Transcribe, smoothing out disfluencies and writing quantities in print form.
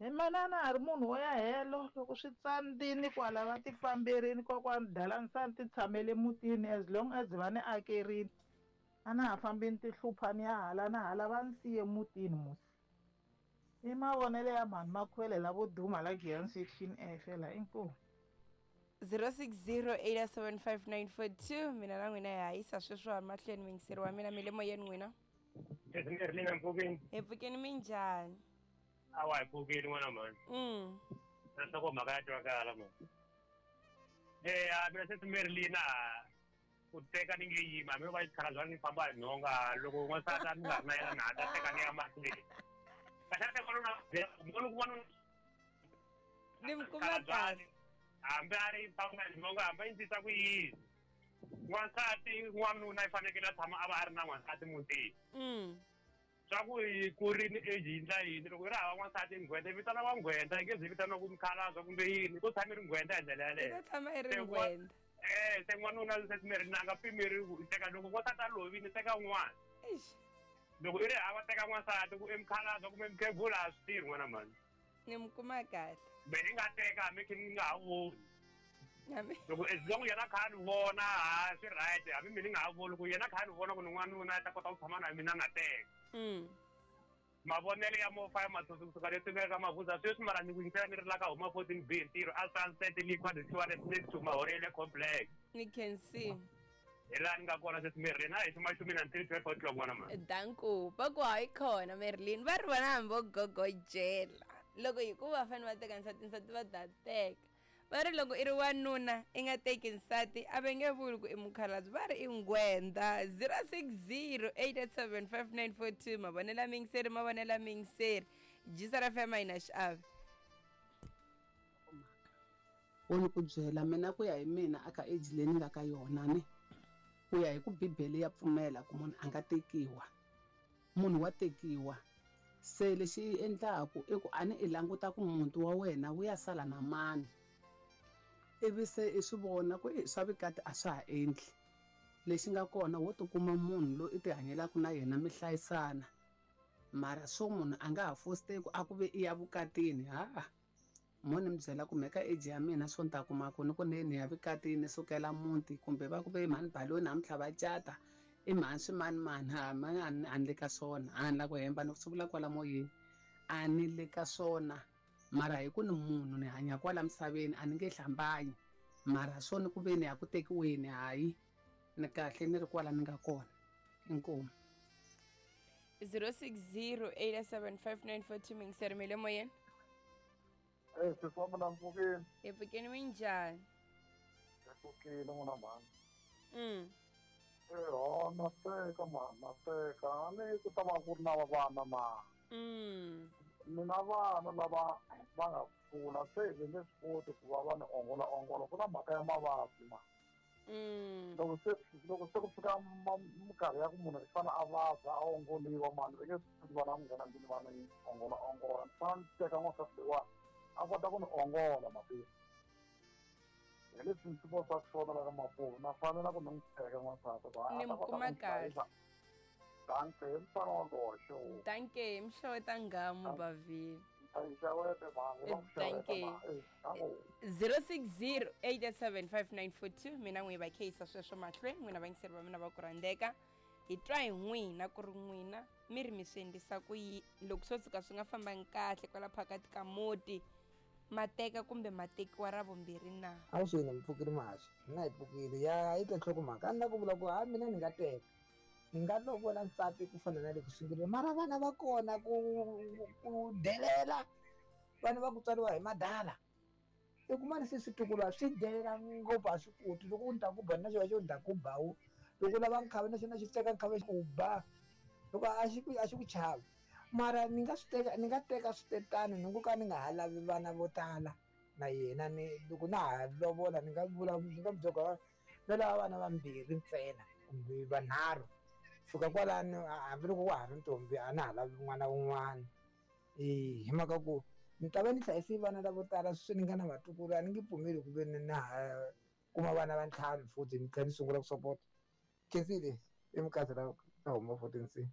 Hi manana a ri munhu wo ya helo loko swi tsandzini kwala va ti famberini kokwani dalanisani ti tshamele mutini as long as va ni akerini a na ha fambi ni ti hlupha ni ya hala na hala va ni siye mutini musi i mavonelo ya mhani makhwele lavo duma la Giyani section F la inkomu. 0608755942 mina na n'wina hi hayisa sweswiwani mahlweni muyingiseri wa mina mi le moyeni n'wina. Lerina mpfukeni. Hi pfukeni minjhani? Awa hi pfukile n'wana mhani. Na nhlokomhaka ya twakala mhani. Eya mina se Merlina ku teka ni nge yimi hambi va xikhala ni famba hi nhonga loko n'wansati a ni nga ri na yena na ha ta teka ni ya mahlweni. Kahle kahle n'wanuna n'wanuna n'wanuna Ni mi kuma kahle. Hambi a ri famba hi nhonga hambi a endlisa ku yini. N'wansati n'wanuna i fanekele a tshama a va a ri na n'wansati mutini. Swa ku yi kurini age yi ndla yini loko yi ri hava n'wansati nghwenta yi vitana nghwenta yi nge zi vitaniwa ku mukhalabye kumbe yini ko tshama yi ri nghwenta hi ndlela yaleyo. Yi ta tshama yi ri nghwenta. Se n'wanuna se mi ri na nga pimeriwi ku i teka loko n'wansati a lovile teka un'wana. Eish. Loko i ri hava teka n'wansati ku i mukhalabye kumbe mukhegula a swi tirhi n'wana mhani. Ni mi kuma kahle. Me ni nga teka hambi khe ni nga ha voni. Loko as long yena kha a ni vona ha swi right hambi mina ni nga ha voni ku yena kha a ni vona ku ni n'wanuna a ta kota ku tshama na mina na teka. Mavonelo ya mofa ya matsotsi kusuka le tingaka ka mavuza sweswi mara ni ku yingisela ni ri la ka huma 14 B ntirho a Sunset Liquor the Tourist next to Mahorele Complex. Ni can see. Hi laha ni nga kona sweswi Merlin a hi ximashumi na 3 12 o'clock n'wana mhani. Danko va ku hayi khona Merlin va ri vona hambi vo gogojela loko hi ku va fanele va teka nsati nsati va ta teka va ri loko i ri wanuna i nga teki nsati a va nge vuli ku i mukhalabye va ri i nghwenda 060 887 5942 mavonelo ya miyingiseri mavonelo ya miyingiseri jisa ra fm a yi na xiave. Wo ni ku byela mina ku ya hi mina aka age leyi ni nga ka yona ne ku ya hi ku bibele ya pfumela ku munhu a nga tekiwa munhu wa tekiwa se lexi endlaku i ku a ni i languta ku muti wa wena wu ya sala na mani ivi se i swi vona ku i swa vukati a swa ha endli lexi nga kona wo tikuma munhu loyi i tihanyelaka na yena mi hlayisana mara swo munhu a nga ha fositeki a ku ve i ya vukatini ha Mo ni mi byela ku me ka age ya mina swo ni ta kuma ku ni ku ni ni ya vukatini ni sukela muti kumbe va ku ve mhani Baloni namuntlha va cata i mhani swimanimani ha mani a ni a ni le ka swona a ni la ku hemba ni swi vula kwala moyeni a ni le ka swona mara hi ku ni munhu ni hanya kwala misaveni a ni nge hlambanyi mara swo ni ku ve ni ya ku tekiweni hayi ni kahle ni ri kwala ni nga kona inkomu. 060 87 5942 mingiseri mi le moyeni. Eh, sesi wa mina mpfukile. Hi pfukeni minjhani? Hi pfukile n'wana mhani. Eh, ho na teka mhani, na teka. A ni ku ta va ku ri na vana na. Ni na vana lava va nga kula se va nge swi koti ku va va ni ongola ongola ku na mhaka ya mavabyi ma. Loko se loko se ku fika minkarhi ya ku munhu i fanele a vabya a ongoliwa mani va nge swi koti vana ku nghena ndlwini va ni ongola ongola ni fanele ni teka n'wansati loyiwani a kota ku ni ongola mativa hi leswi ni swi vonisaka swona la ka Mapuve na fanela ku ni n'wi teka n'wansati ku Ni a ta mi kota ku kuma ni kahle. hlayisa danke hi mfana wa goxo Danke mxeweta nghamu bavhini. xewete mhani va ku xeweta Danke. ma eh, danko 060 887 5942 mina n'wi va kheyisa sweswo mahlweni n'wina vayingiseri va mina va ku rhandzeka hi twa hi n'wina ku ri n'wina mi ri mi swi endlisa ku yi loko swo tshuka swi nga fambangi kahle kwala phakati ka muti ma teka kumbe ma tekiwa ra vumbirhi na? Avuxeni mi pfukile muhaxi mina hi pfukile ya yi twa nhlokomhaka a ni la ku vula ku ha mina ni nga teka ni nga lovola nsati ku fana na le ku sunguleni mara vana va kona ku ku delela vana va ku tswariwa hi madala i kuma ni se switukulwana swi delela ngopfu a swi koti loko u ni ta ku ba na xona xo ni ta ku ba wu loko u lava nkhavi na xona xi teka nkhavi xi ku ba loko a xi ku a xi ku chavi mara ni nga swi teka ni nga teka switetano ni ngo ka ni nga ha lavi vana vo tala na yena ni loko na ha lovola ni nga vula ni nga byela no lava vana vambirhi ntsena kumbe vanharhu fika kwalano hambiloko wa ha ri ntombi a na ha lavi n'wana wun'wana e hi mhaka ku ni ta va ni hlayise vana lavo tala sweswi ni nga na vatukulu a ni nge pfumeli ku ve ni na ha kuma vana va ntlhanu futhi ni tlhela ni sungula ku sopota khensile i mukazi la ka huma 14 C.